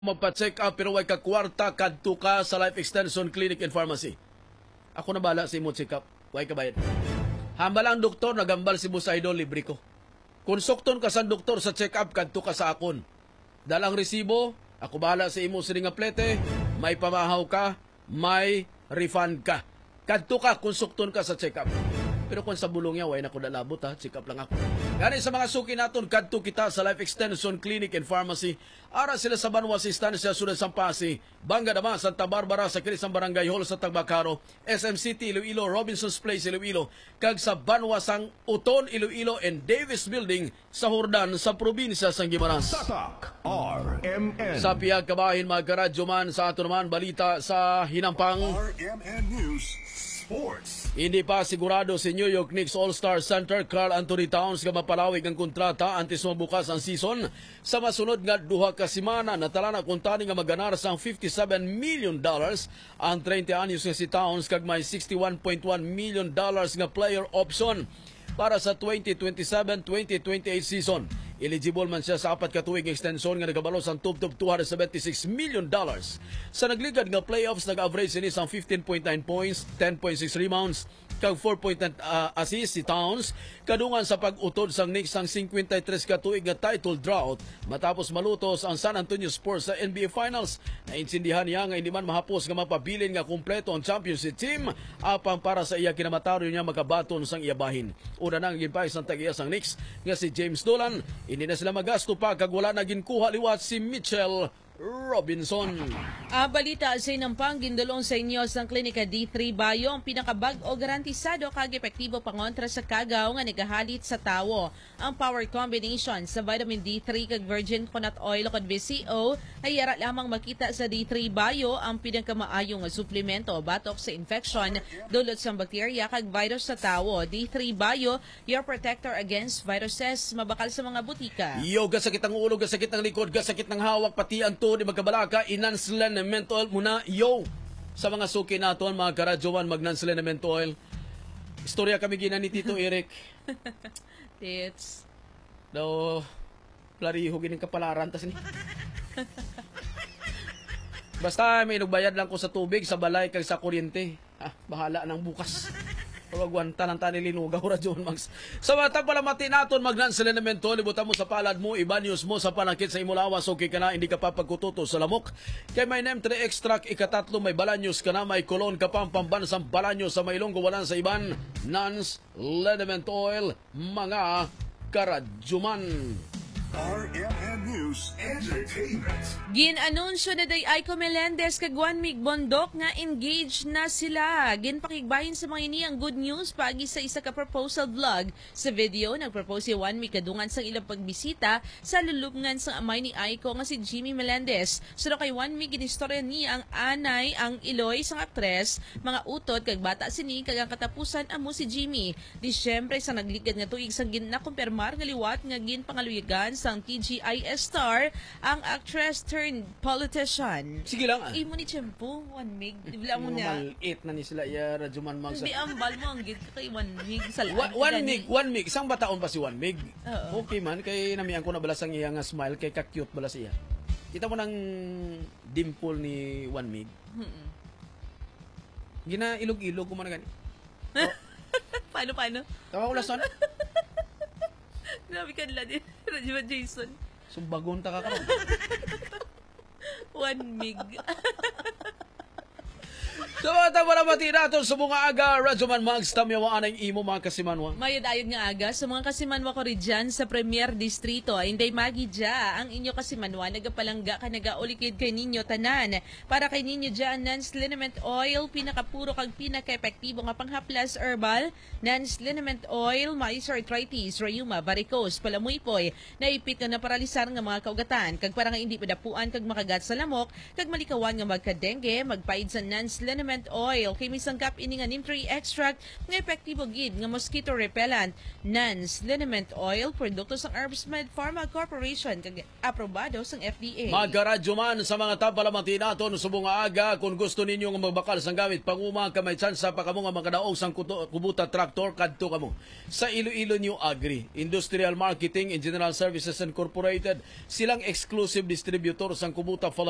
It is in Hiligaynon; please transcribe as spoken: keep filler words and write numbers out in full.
magpa-check up pero way ka kwarta, kadto ka sa Life Extension Clinic and Pharmacy. Ako na bala sa imo check up. Way ka bayad. Hambal ang doktor, nagambal si Boss Idol, libre ko. Kung sukton ka sa doktor sa check up, kadto ka sa akon. Dala ang resibo, ako bahala sa imo sini nga plete, may pamahaw ka, may refund ka. Kadto ka kung sukton ka sa check-up. Pero kung sa bulong niya, way na ko dalabot ha, check-up lang ako. Gani sa mga suki naton, kadto kita sa Life Extension Clinic and Pharmacy. Ara sila sa Banwa sa Estancia, Siyudad sang Passi, Bangga Dama, Santa Barbara, sa kilis sang Barangay Hall sa Tagbakaro, S M City, Iloilo, Robinson's Place, Iloilo, kag sa Banwa sang Oton, Iloilo, and Davis Building, sa Jordan, sa probinsya sang Guimaras. Tatak R M N. Sa pihak kabahin, mga karadyoman, sa ato naman balita sa hinampang. R M N News Sports. Hindi pa sigurado si New York Knicks All-Star center Karl Anthony Towns nga mapalawig ang kontrata antes mabukas ang season. Sa masunod nga duha ka semana, natalana kuntani nga maganar sang fifty-seven million dollars ang treinta anyos nga si Towns, kag may sixty-one point one million dollars nga player option para sa twenty twenty-seven, twenty twenty-eight season. Eligible man siya sa apat ka tuig nga extension nga nagabalo sang tubtob two hundred seventy-six million dollars. Sa nagligad nga playoffs, nag-average sini sang fifteen point nine points, ten point six rebounds, kag four point nine, ah, assist si Towns kadungan sa pag-utod sang Knicks sang cincuenta y tres ka tuig nga title drought matapos malutos ang San Antonio Spurs sa N B A Finals. Naintindihan niya nga hindi man mahapos nga mapabilin nga kompleto ang championship team, apang para sa iya, kinamataryo niya makabaton sang iya bahin. Una na ang ginpahay sang tag-iya sang Knicks nga si James Dolan. Hindi na sila magasto pa kag wala na ginkuha liwat si Mitchell Robinson. Ang balita sa inampang, gindulong sa inyo sang Klinika D three Bio ang pinakabag-o, garantisado kag epektibo pangontra sa kagaw nga nagahalit sa tawo. Ang power combination sa vitamin D three kag virgin coconut oil ukon V C O ay yara lamang makita sa D three Bio, ang pinakamaayo nga suplemento batok sa infeksyon dulot sang bakterya kag virus sa tawo. D three Bio, your protector against viruses, mabakal sa mga butika. Yo, gasakit ang ulo, gasakit ang likod, gasakit ang hawak, pati ang tuhod, di magkabalaka, i-Nanslen Menthol muna, yo. Sa mga suki naton, mga karadyoman, mag-Nanslen Menthol. Istorya kami gina ni Tito Eric. Tits. Daw, plariho gining kapalaran, tas ni. Basta may inugbayad lang ko sa tubig, sa balay, kag sa kuryente. Ah, bahala nang bukas. Pero agwanta lang tani linugaw, Radyo Max. Sa mga tagpalamati naton, mag-Nanslen Menthol, ibutan mo sa palad mo, ibanyos mo sa panakit sa imo lawas, okay ka na, hindi ka pa pagkututo sa lamok. Kay may neem three extract, ikatatlo, may balanyos ka na, may kolon ka pa, ang pambansang balanyos sa mailong gawalan sa iban, Nanslen Menthol, mga karadyoman. R M N News Entertainment. Gin-anunsyo na day Aiko Melendez kag Juan Mig Bondoc nga engaged na sila. Ginpakigbahin sa mga ini ang good news paagi sa isa ka proposal vlog. Sa video, nagpropose si Juan Mig kadungan sang ilang pagbisita sa lulubngan sang amay ni Aiko nga si Jimmy Melendez. Suno kay Juan Mig, ginistorya niya ang anay, ang iloy sang aktres, mga utod kag bata sini, kag ang katapusan amo si Jimmy. Disyembre sang nagligad nga tuig sang gin-, nakumpirmar nga liwat nga ginpangaluyagan sang T G I S star ang actress turned politician. Sige lang, ah. Imo ni tiyempo, Juan Mig. Di ba mo Yung na? Malit na ni sila, iya, Radyo Man Mang sa Hindi, ambal mo ang gid ka kay Juan Mig. Sa Wa-, Juan Mig, Juan Mig. Sang bataon pa si Juan Mig? Oo. Okay man, kay namian ko na bala sang iya nga smile, kay ka-cute bala siya. Kita mo nang dimple ni Juan Mig? Mm-mm. Ginailog-ilog ko man na gani. Paano, paano? Tawa ko lason. Grabe ka nila din, Radyo Jason. Sumbagon ta ka karon. Juan Mig. Sa mga tagpalamati naton sa mga aga, Radyo Man Mags, tamyawa anay imo mga kasimanwa. Mayad-ayod nga aga sa mga kasimanwa ko ridyan sa Premier Distrito. Inday Magi dya, ang inyo kasimanwa nagapalangga ka nagaulikid kay ninyo tanan. Para kay ninyo dya, Nans Liniment Oil, pinakapuro kag pinakaepektibo nga panghaplas herbal. Nans Liniment Oil, maayo sa arthritis, rayuma, varicose, palamuypoy, naipit nga naparalisar nga mga kaugatan, kag para nga indi madapuan kag makagat sa lamok, kag malikawan nga magka-dengue, magpaid sa Nans Liniment Oil kay may sangkap ini nga neem tree extract nga epektibo gid nga mosquito repellent. Nans Liniment Oil, produkto sang Herbstmed Pharma Corporation, kag aprobado sang F D A. Magkaradyo man sa mga tampalamati naton subong nga aga, kung gusto ninyo nga magbakal sang gamit panguma, kay may tsansa pa kamo nga makadaog sang kuto-, kubota traktor, kadto kamo sa Iloilo New Agri, Industrial Marketing and General Services Incorporated. Silang exclusive distributor sang kubota Philippines.